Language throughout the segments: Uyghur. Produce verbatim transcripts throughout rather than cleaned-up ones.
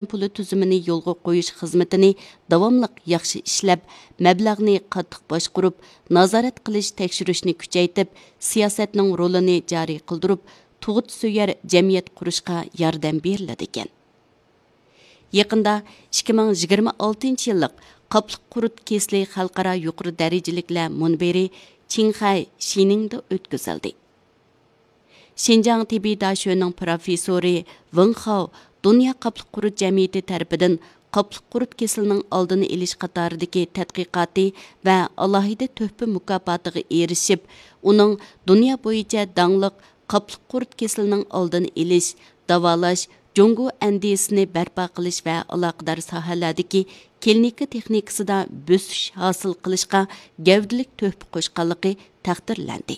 پۇلى تۈزۈمىنى يولغا قويۇش خىزمىتىنى داۋاملىق ياخشى ئىشلەپ، مەبلەغنى قاتتىق باشقۇرۇپ، نازارەت قىلىش، تەكشۈرۈشنى كۈچەيتىپ، سىياسەتنىڭ رولىنى جارى قىلدۇرۇپ، تۇغۇت سۆيەر جەمئىيەت قۇرۇشقا ياردەم بېرىلىدىكەن. يېقىندا ئىككى مىڭ يىگىرمە ئالتىنچى يىللىق قاپلىق قۇرت كېسىلى خەلقئارا يۇقىرى دەرىجىلىكلەر مۇنبىرى چىڭخەي شىنىڭدا ئۆتكۈزۈلدى. شىنجاڭ تېببىي داشۆنىڭ پروفېسسورى ۋېڭ خاۋ دۇنيا قاپلىق قۇرت جەمئىيىتى تەرىپىدىن قاپلىق قۇرت كېسىلىنىڭ ئالدىنى ئېلىش قاتارىدىكى تەتقىقاتى ۋە ئالاھىدە تۆھپە مۇكاپاتىغا ئېرىشىپ، ئۇنىڭ دۇنيا بويىچە داڭلىق قاپلىق قۇرت كېسىلىنىڭ ئالدىنى ئېلىش، داۋالاش، جۇڭگو ئەندىزىسىنى بەرپا قىلىش ۋە ئالاقىدار ساھەلەردىكى كلىنىكا تېخنىكىسىدا بۆسۈش ھاسىل قىلىشقا گەۋدىلىك تۆھپە قوشقانلىقى تەقدىرلەندى.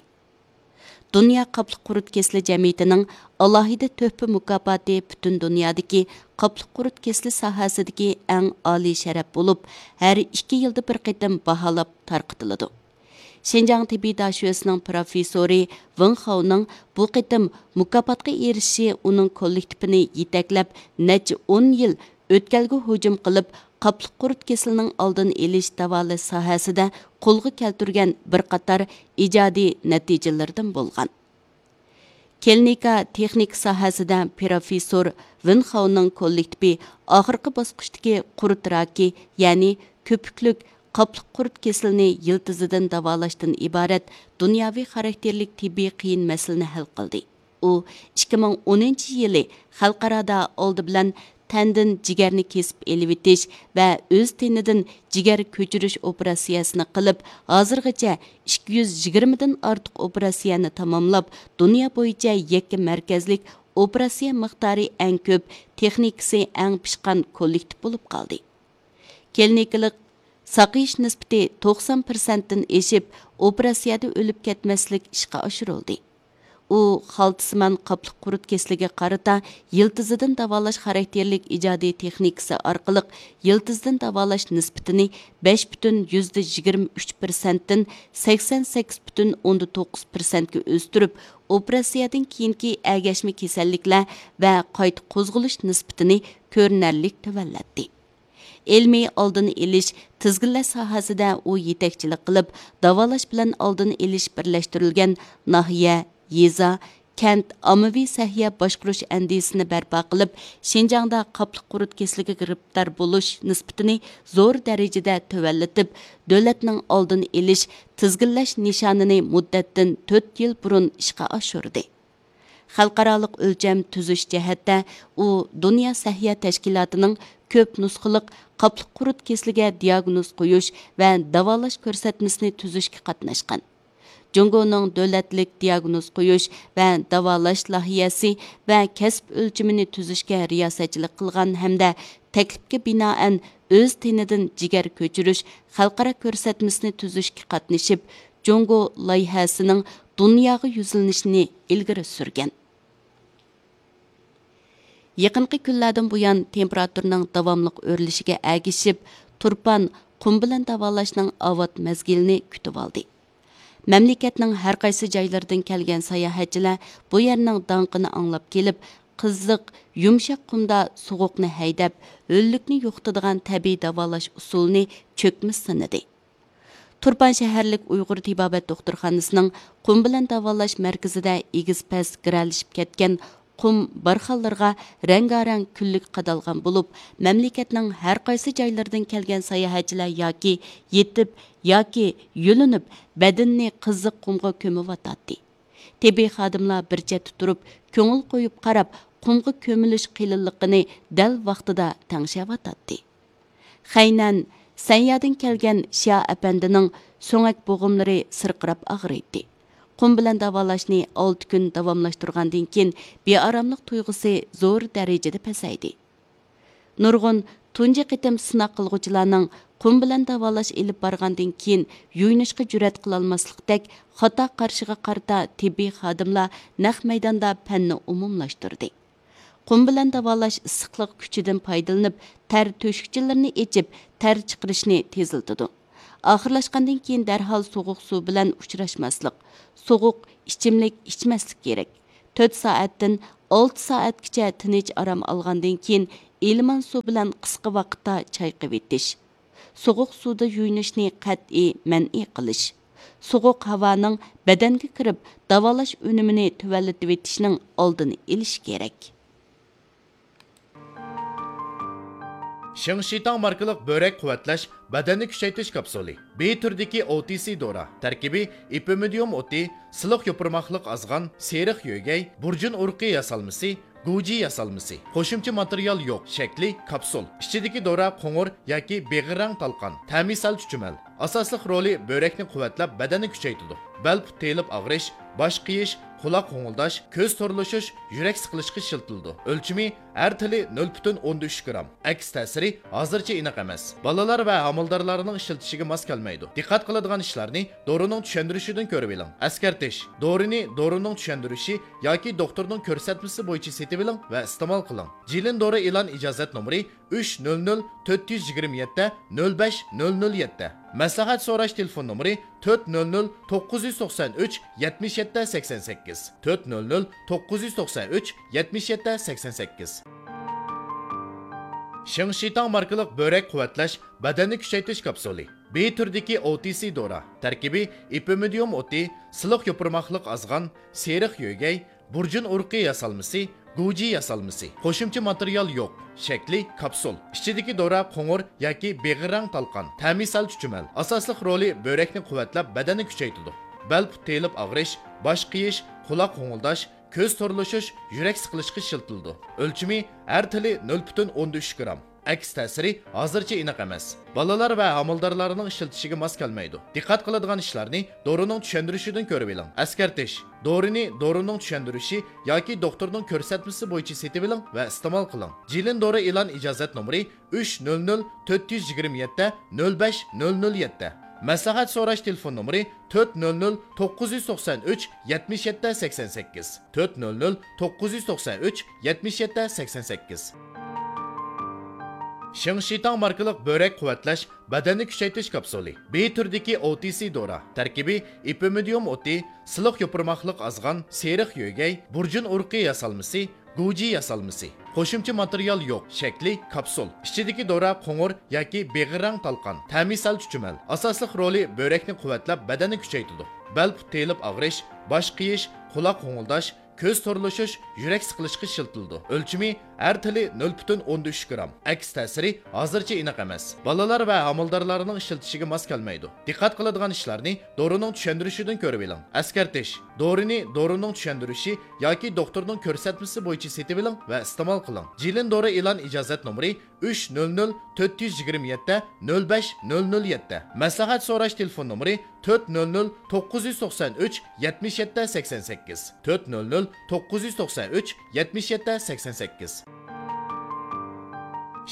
دۇنيا قاپلىق قۇرت كېسىلى جەمئىيىتىنىڭ ئالاھىدە تۆھپە مۇكاپاتى پۈتۈن دۇنيادىكى قاپلىق قۇرت كېسىلى ساھەسىدىكى ئەڭ ئالىي شەرەپ بولۇپ، ھەر ئىككى يىلدا بىر قېتىم باھالاپ تارقىتىلىدۇ. شىنجاڭ تېببىي داشۆسىنىڭ پروفېسسورى ۋېڭ خاۋنىڭ بۇ قېتىم مۇكاپاتقا ئېرىشىشى ئۇنىڭ كوللېكتىپىنى يېتەكلەپ، نەچچە ئون يىل ئۆتكەلگە ھۇجۇم قىلىپ، قاپلىق قۇرت كېسىلىنىڭ ئالدىنى ئېلىش، داۋالاش ساھەسىدە قولغا كەلتۈرگەن بىر قاتار ئىجادىي نەتىجىلىرىدىن بولغان. كلىنىكا تېخنىكا ساھەسىدە پروفېسسور ۋېن خاۋنىڭ كوللېكتىپى ئاخىرقى باسقۇچتىكى قۇرت راكى، يەنى كۆپۈكلۈك قاپلىق قۇرت كېسىلىنى يىلتىزىدىن داۋالاشتىن ئىبارەت دۇنياۋى خاراكتېرلىك تېببىي قىيىن مەسىلىنى ھەل قىلدى. ئۇ ئىككى مىڭ ئونىنچى يىلى خەلقئارادا ئالدى بىلەن تەندىن جىگەرنى كېسىپ ئېلىۋېتىش ۋە ئۆز تېنىدىن جىگەر كۆچۈرۈش ئوپېراتسىيەسىنى قىلىپ، ھازىرغىچە ئىككى يۈز يىگىرمىدىن ئارتۇق ئوپېراتسىيەنى تاماملاپ، دۇنيا بويىچە يەككە مەركەزلىك ئوپېراتسىيە مىقدارى ئەڭ كۆپ، تېخنىكىسى ئەڭ پىشقان كوللېكتىپ بولۇپ قالدى. كلىنىكىلىق ساقىيىش نىسبىتى توقسان پىرسەنتتىن ئېشىپ، ئوپېراتسىيەدە ئۆلۈپ كەتمەسلىك ئىشقا ئاشۇرۇلدى. ئۇ خالتىسىمان قاپلىق قۇرت كېسىلىگە قارىتا يىلتىزىدىن داۋالاش خاراكتېرلىك ئىجادىي تېخنىكىسى ئارقىلىق يىلتىزىدىن داۋالاش نىسبىتىنى بەش پۈتۈن يۈزدە يىگىرمە ئۈچ پىرسەنتتىن سەكسەن سەككىز پۈتۈن ئوندا توققۇز پىرسەنتكە ئۆستۈرۈپ، ئوپېراتسىيەدىن كېيىنكى ئەگەشمە كېسەللىكلەر ۋە قايتا قوزغىلىش نىسبىتىنى كۆرۈنەرلىك تۆۋەنلەتتى. ئىلمىي ئالدىنى ئېلىش، تىزگىنلەش ساھەسىدە ئۇ يېتەكچىلىك قىلىپ، داۋالاش بىلەن ئالدىنى ئېلىش بىرلەشتۈرۈلگەن ناھىيە، يېزا، كەنت ئاممىۋى سەھىيە باشقۇرۇش ئەندىزىسىنى بەرپا قىلىپ، شىنجاڭدا قاپلىق قۇرت كېسىلىگە گىرىپتار بولۇش نىسبىتىنى زور دەرىجىدە تۆۋەنلىتىپ، دۆلەتنىڭ ئالدىنى ئېلىش، تىزگىنلەش نىشانىنى مۇددەتتىن تۆت يىل بۇرۇن ئىشقا ئاشۇردى. خەلقئارالىق ئۆلچەم تۈزۈش جەھەتتە ئۇ دۇنيا سەھىيە تەشكىلاتىنىڭ كۆپ نۇسخىلىق قاپلىق قۇرت كېسىلىگە دىياگنوز قويۇش ۋە داۋالاش كۆرسەتمىسىنى تۈزۈشكە قاتناشقان. جۇڭگونىڭ دۆلەتلىك دىياگنوز قويۇش ۋە داۋالاش لايىھەسى ۋە كەسىپ ئۆلچىمىنى تۈزۈشكە رىياسەتچىلىك قىلغان ھەمدە تەكلىپكە بىنائەن ئۆز تېنىدىن جىگەر كۆچۈرۈش خەلقئارا كۆرسەتمىسىنى تۈزۈشكە قاتنىشىپ، جۇڭگو لايىھەسىنىڭ دۇنياغا يۈزلىنىشىنى ئىلگىرى سۈرگەن. يېقىنقى كۈنلەردىن بۇيان تېمپېراتۇرىنىڭ داۋاملىق ئۆرلىشىگە ئەگىشىپ، تۇرپان قۇم بىلەن داۋالاشنىڭ ئاۋات مەزگىلىنى كۈتۈۋالدى. مەملىكەتنىڭ ھەر قايسى جايلىرىدىن كەلگەن ساياھەتچىلەر بۇ يەرنىڭ داڭقىنى ئاڭلاپ كېلىپ، قىزىق، يۇمشاق قۇمدا سوغۇقنى ھەيدەپ، ھۆللۈكنى يوقىتىدىغان تەبىئىي داۋالاش ئۇسۇلىنى چۆكمىسە سىنىدى. تۇرپان شەھەرلىك ئۇيغۇر تېبابەت دوختۇرخانىسىنىڭ قۇم بىلەن داۋالاش مەركىزىدە ئېگىز-پەس گىرەلىشىپ كەتكەن قۇم بارخانلىرىغا رەڭگارەڭ كۈنلۈك قادالغان بولۇپ، مەملىكەتنىڭ ھەر قايسى جايلىرىدىن كەلگەن ساياھەتچىلەر ياكى يېتىپ، ياكى يۆلىنىپ، بەدىنىنى قىزىق قۇمغا كۆمۈۋاتاتتى. تېببىي خادىملار بىر چەتتە تۇرۇپ، كۆڭۈل قويۇپ قاراپ، قۇمغا كۆمۈلۈش قېلىنلىقىنى دەل ۋاقتىدا تەڭشەۋاتاتتى. خەينەن، سەنيادىن كەلگەن شيا ئەپەندىنىڭ سۆڭەك بوغۇملىرى سىرقىراپ ئاغرىيتتى. قۇم بىلەن داۋالاشنى ئالتە كۈن داۋاملاشتۇرغاندىن كېيىن، بىئاراملىق تۇيغۇسى زور دەرىجىدە پەسەيدى. نۇرغۇن تۇنجى قېتىم سىناق قىلغۇچىلارنىڭ قۇم بىلەن داۋالاش ئېلىپ بارغاندىن كېيىن يۇيۇنۇشقا جۈرئەت قىلالماسلىقتەك خاتا قارىشىغا قارىتا تېببىي خادىملار نەق مەيداندا پەننى ئومۇملاشتۇردى. قۇم بىلەن داۋالاش ئىسسىقلىق كۈچىدىن پايدىلىنىپ، تەر تۆشۈكچىلىرىنى ئېچىپ، تەر چىقىرىشنى تېزلىتىدۇ. ئاخىرلاشقاندىن كېيىن دەرھال سوغۇق سۇ بىلەن ئۇچراشماسلىق، سوغۇق ئىچىملىك ئىچمەسلىك كېرەك. تۆت سائەتتىن ئالتە سائەتكىچە تىنچ ئارام ئالغاندىن كېيىن، ئىلمان سۇ بىلەن قىسقا ۋاقىتتا چايقىۋېتىش. سوغۇق سۇدا يۇيۇنۇشنى قەتئىي مەنئى قىلىش. سوغۇق ھاۋانىڭ بەدەنگە كىرىپ، داۋالاش ئۈنۈمىنى تۆۋەنلىتىۋېتىشنىڭ ئالدىنى ئېلىش كېرەك. شېڭشىتاڭ ماركىلىق بۆرەك قۇۋۋەتلەش بەدەننى كۈچەيتىش كاپسۇلى. بى تۈرىدىكى ئو تى سى دورا. تەركىبى ئېپىمىدىيۇم ئوتى، سىلىق يوپۇرماقلىق ئازغان، سېرىق يۆگەي، بۇرجۇن ئۇرۇقى ياسالمىسى، گۇجى ياسالمىسى. قوشۇمچە ماتېرىيال يوق. شەكلى كاپسۇل. ئىچىدىكى دورا قوڭۇر ياكى بېغىر رەڭ تالقان. تەمى سەل چۈچۈمەل. ئاساسلىق رولى بۆرەكنى قۇۋۋەتلەپ، بەدەننى كۈچەيتىدۇ. بەل پۇت تېيىلىپ ئاغرىش، باش قېيىش، قۇلاق غوڭۇلداش، كۆز تورلىشىش، يۈرەك سىقىلىشقا ئىشلىتىلىدۇ. ئۆلچىمى ھەر تىلى نۆل پۈتۈن ئوندىن ئۈچ گرام. ئەكس تەسىرى ھازىرچە ئېنىق ئەمەس. بالىلار ۋە ھامىلىدارلارنىڭ ئىشلىتىشىگە ماس كەلمەيدۇ. دىققەت قىلىدىغان ئىشلارنى دورىنىڭ چۈشەندۈرۈشىدىن كۆرۈۋېلىڭ. ئەسكەرتىش: دورىنى دورىنىڭ چۈشەندۈرۈشى ياكى دوختۇرنىڭ كۆرسەتمىسى بويىچە سېتىۋېلىڭ ۋە ئىستېمال قىلىڭ. جىلىن دورا ئېلان ئىجازەت نومۇرى ئۈچ نۆل نۆل تۆت يۈز يىگىرمە يەتتە نۆل بەش نۆل نۆل يەتتە. مەسلىھەت سوراش تېلېفون نومۇرى تۆت نۆل نۆل توققۇز يۈز توقسان ئۈچ يەتمىش يەتتە سەكسەن سەككىز، تۆت نۆل نۆل توققۇز يۈز توقسان ئۈچ يەتمىش يەتتە سەكسەن سەككىز. شېڭشىتاڭ ماركىلىق بۆرەك قۇۋۋەتلەش بەدەننى كۈچەيتىش كاپسۇلى. بى تۈرىدىكى ئو تى سى دورا. تەركىبى ئېپىمىدىيۇم ئوتى، سىلىق يوپۇرماقلىق ئازغان، سېرىق يۆگەي، بۇرجۇن ئۇرۇقى ياسالمىسى، گۇجى ياسالمىسى. قوشۇمچە ماتېرىيال يوق. شەكلى كاپسۇل. ئىچىدىكى دورا قوڭۇر ياكى بېغىر رەڭ تالقان. تەمى سەل چۈچۈمەل. ئاساسلىق رولى بۆرەكنى قۇۋۋەتلەپ، بەدەننى كۈچەيتىدۇ. بەل پۇت تېيىلىپ ئاغرىش، باش قېيىش، قۇلاق غوڭۇلداش، كۆز تورلىشىش، يۈرەك سىقىلىشقا ئىشلىتىلىدۇ. ئۆلچىمى ھەر تىلى نۆل پۈتۈن ئوندىن ئۈچ گرام. ئەكس تەسىرى ھازىرچە ئېنىق ئەمەس. بالىلار ۋە ھامىلىدارلارنىڭ ئىشلىتىشىگە ماس كەلمەيدۇ. دىققەت قىلىدىغان ئىشلارنى دورىنىڭ چۈشەندۈرۈشىدىن كۆرۈۋېلىڭ. ئەسكەرتىش: دورىنى دورىنىڭ چۈشەندۈرۈشى ياكى دوختۇرنىڭ كۆرسەتمىسى بويىچە سېتىۋېلىڭ ۋە ئىستېمال قىلىڭ. جىلىن دورا ئېلان ئىجازەت نومۇرى ئۈچ نۆل نۆل تۆت يۈز يىگىرمە يەتتە نۆل بەش نۆل نۆل يەتتە. مەسلىھەت سوراش تېلېفون نومۇرى تۆت نۆل نۆل توققۇز يۈز توقسان ئۈچ يەتمىش يەتتە سەكسەن سەككىز، تۆت نۆل نۆل توققۇز يۈز توقسان ئۈچ يەتمىش يەتتە سەكسەن سەككىز. شېڭشىتاڭ ماركىلىق بۆرەك قۇۋۋەتلەش بەدەننى كۈچەيتىش كاپسۇلى. بى تۈرىدىكى ئو تى سى دورا. تەركىبى ئېپىمىدىيۇم ئوتى، سىلىق يوپۇرماقلىق ئازغان، سېرىق يۆگەي، بۇرجۇن ئۇرۇقى ياسالمىسى، گۇجى ياسالمىسى. قوشۇمچە ماتېرىيال يوق. شەكلى كاپسۇل. ئىچىدىكى دورا قوڭۇر ياكى بېغىر رەڭ تالقان. تەمى سەل چۈچۈمەل. ئاساسلىق رولى بۆرەكنى قۇۋۋەتلەپ، بەدەننى كۈچەيتىدۇ. بەل پۇت تېيىلىپ ئاغرىش، باش قېيىش، قۇلاق غوڭۇلداش، كۆز تورلىشىش، يۈرەك سىقىلىشقا ئىشلىتىلىدۇ. ئۆلچىمى ھەر تىلى نۆل پۈتۈن ئوندىن ئۈچ گرام. ئەكس تەسىرى ھازىرچە ئېنىق ئەمەس. بالىلار ۋە ھامىلىدارلارنىڭ ئىشلىتىشىگە ماس كەلمەيدۇ. دىققەت قىلىدىغان ئىشلارنى دورىنىڭ چۈشەندۈرۈشىدىن كۆرۈۋېلىڭ. ئەسكەرتىش: دورىنى دورىنىڭ چۈشەندۈرۈشى ياكى دوختۇرنىڭ كۆرسەتمىسى بويىچە سېتىۋېلىڭ ۋە ئىستېمال قىلىڭ. جىلىن دورا ئېلان ئىجازەت نومۇرى ئۈچ نۆل نۆل تۆت يۈز يىگىرمە يەتتە نۆل بەش نۆل نۆل يەتتە. مەسلىھەت سوراش تېلېفون نومۇرى تۆت نۆل نۆل توققۇز يۈز توقسان ئۈچ يەتمىش يەتتە سەكسەن سەككىز، تۆت نۆل نۆل توققۇز يۈز توقسان ئۈچ يەتمىش يەتتە سەكسەن سەككىز.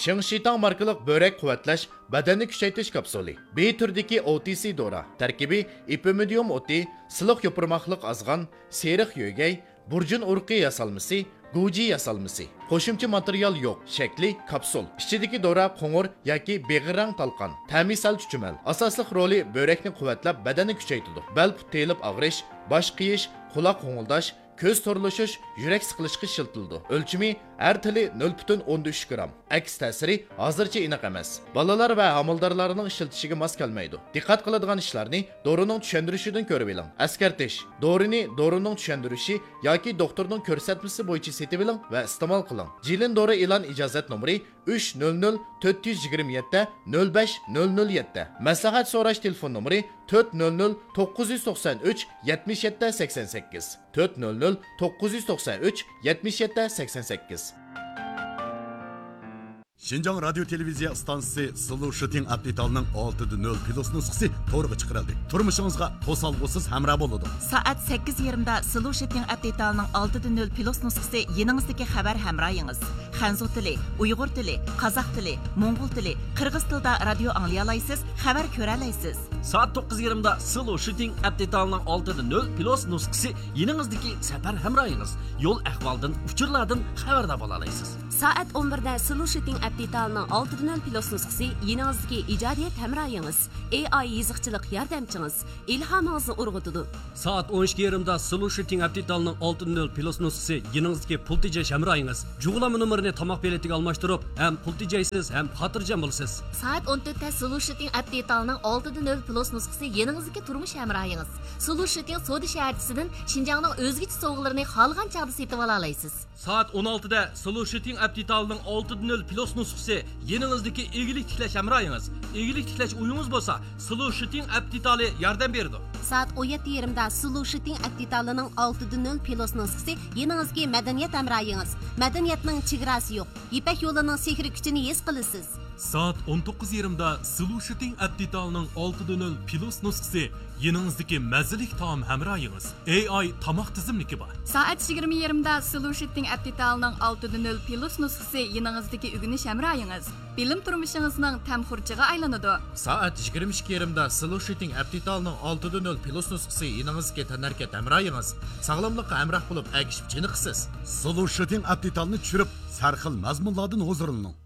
شېڭشىتاڭ ماركىلىق بۆرەك قۇۋۋەتلەش بەدەننى كۈچەيتىش كاپسۇلى. بى تۈرىدىكى ئو تى سى دورا. تەركىبى ئېپىمىدىيۇم ئوتى، سىلىق يوپۇرماقلىق ئازغان، سېرىق يۆگەي، بۇرجۇن ئۇرۇقى ياسالمىسى، گۇجى ياسالمىسى. قوشۇمچە ماتېرىيال يوق. شەكلى كاپسۇل. ئىچىدىكى دورا قوڭۇر ياكى بېغىر رەڭ تالقان. تەمى سەل چۈچۈمەل. ئاساسلىق رولى بۆرەكنى قۇۋۋەتلەپ، بەدەننى كۈچەيتىدۇ. بەل پۇت تېيىلىپ ئاغرىش، باش قېيىش، قۇلاق غوڭۇلداش، كۆز تورلىشىش، يۈرەك سىقىلىشقا ئىشلىتىلىدۇ. ئۆلچىمى ھەر تىلى نۆل پۈتۈن ئوندىن ئۈچ گرام. ئەكس تەسىرى ھازىرچە ئېنىق ئەمەس. بالىلار ۋە ھامىلىدارلارنىڭ ئىشلىتىشىگە ماس كەلمەيدۇ. دىققەت قىلىدىغان ئىشلارنى دورىنىڭ چۈشەندۈرۈشىدىن كۆرۈۋېلىڭ. ئەسكەرتىش: دورىنى دورىنىڭ چۈشەندۈرۈشى ياكى دوختۇرنىڭ كۆرسەتمىسى بويىچە سېتىۋېلىڭ ۋە ئىستېمال قىلىڭ. جىلىن دورا ئېلان ئىجازەت نومۇرى ئۈچ نۆل نۆل تۆت يۈز يىگىرمە يەتتە نۆل بەش نۆل نۆل يەتتە. مەسلىھەت سوراش تېلېفون نومۇرى تۆت نۆل نۆل توققۇز يۈز توقسان ئۈچ يەتمىش يەتتە سەكسەن سەككىز، تۆت نۆل نۆل توققۇز يۈز توقسان ئۈچ يەتمىش يەتتە سەكسەن سەككىز. شىنجاڭ رادىيو تېلېۋىزىيە ئىستانسىسى سلو شۇتىڭ ئەپ دېتالىنىڭ ئالتىدە نۆل پلۇس نۇسخىسى تورغا چىقىرىلدى. تۇرمۇشىڭىزغا توسالغۇسىز ھەمراھ بولىدۇ. سائەت سەككىز يېرىمدا سلو شۇتىڭ ئەپ دېتالىنىڭ ئالتىدە نۆل پلۇس نۇسخىسى يېنىڭىزدىكى خەۋەر ھەمراھىڭىز. خەنزۇ تىلى، ئۇيغۇر تىلى، قازاق تىلى، موڭغۇل تىلى، قىرغىز تىلىدا رادىيو ئاڭلىيالايسىز، خەۋەر كۆرەلەيسىز. سائەت توققۇز يېرىمدا سلو شۇتىڭ ئەپ دېتالىنىڭ ئالتىدە نۆل پلۇس نۇسخىسى يېنىڭىزدىكى سەپەر ھەمراھىڭىز. يول ئەھۋالدىن، ئۇچۇرلاردىن خەۋەردار بولالايسىز. سائەت ئون بىردە سلۇشىتىڭ ئەپ دېتالىنىڭ ئالتىدە نۆل پلۇس نۇسخىسى يېنىڭىزدىكى ئىجادىيەت ھەمراھىڭىز، ئېي ئاي يېزىقچىلىق ياردەمچىڭىز، ئىلھامىڭىزنى ئۇرغۇتىدۇ. سائەت ئون ئىككى يېرىمدا سلۇشىتىڭ ئەپ دېتالىنىڭ ئالتىدە نۆل پلۇس نۇسخىسى يېنىڭىزدىكى پۇل تېجەش ھەمراھىڭىز، جۇغلانما نومۇرىنى تاماق بېلىتىگە ئالماشتۇرۇپ، ھەم پۇل تېجەيسىز، ھەم خاتىرجەم بولىسىز. سائەت ئون تۆتتە سلۇشىتىڭ ئەپ دېتالىنىڭ ئالتىدە نۆل پلۇس نۇسخىسى يېنىڭىزدىكى تۇرمۇش ھەمراھىڭىز. سلۇشىتىڭ سودا شەھەرچىسىدىن شىنجاڭنىڭ ئۆزگىچە سوۋغىلىرىنى خالىغان چاغدا سېتىۋالالايسىز. سائەت ئون ئالتىدە سلۇشىتىڭ ئەپ دېتالىنىڭ ئالتىدە نۆل پلۇس نۇسخىسى يېنىڭىزدىكى ئىگىلىك تىكلەش ھەمراھىڭىز. ئىگىلىك تىكلەش ئويىڭىز بولسا، سلۇشىتىڭ ئەپ دېتالى ياردەم بېرىدۇ. سائەت ئون يەتتە يېرىمدا سلۇشىتىڭ ئەپ دېتالىنىڭ ئالتىدە نۆل پلۇس نۇسخىسى يېنىڭىزدىكى مەدەنىيەت ھەمراھىڭىز. مەدەنىيەتنىڭ چېگراسى يوق. يىپەك يولىنىڭ سېھرىي كۈچىنى ھېس قىلىسىز. سائەت ئون توققۇز يېرىمدا سلۇشىتىڭ ئەپ دېتالىنىڭ ئالتىدە نۆل پلۇس نۇسخىسى يېنىڭىزدىكى مەززىلىك تائام ھەمراھىڭىز، ئېي ئاي تاماق تىزىملىكى بار. سائەت يىگىرمە يېرىمدا سلۇشىتىڭ ئەپ دېتالىنىڭ ئالتىدە نۆل پلۇس نۇسخىسى يېنىڭىزدىكى ئۆگىنىش ھەمراھىڭىز، بىلىم تۇرمۇشىڭىزنىڭ تەم خۇرجىغا ئايلىنىدۇ. سائەت يىگىرمە ئىككى يېرىمدا سلۇشىتىڭ ئەپ دېتالىنىڭ ئالتىدە نۆل پلۇس نۇسخىسى يېنىڭىزدىكى تەنھەرىكەت ھەمراھىڭىز، ساغلاملىققا ھەمراھ بولۇپ ئەگىشىپ چېنىقىسىز. سلۇشىتىڭ ئەپ دېتالىنى چۈشۈرۈپ، سەرخىل مەزمۇنلاردىن ھۇزۇرلىنىڭ.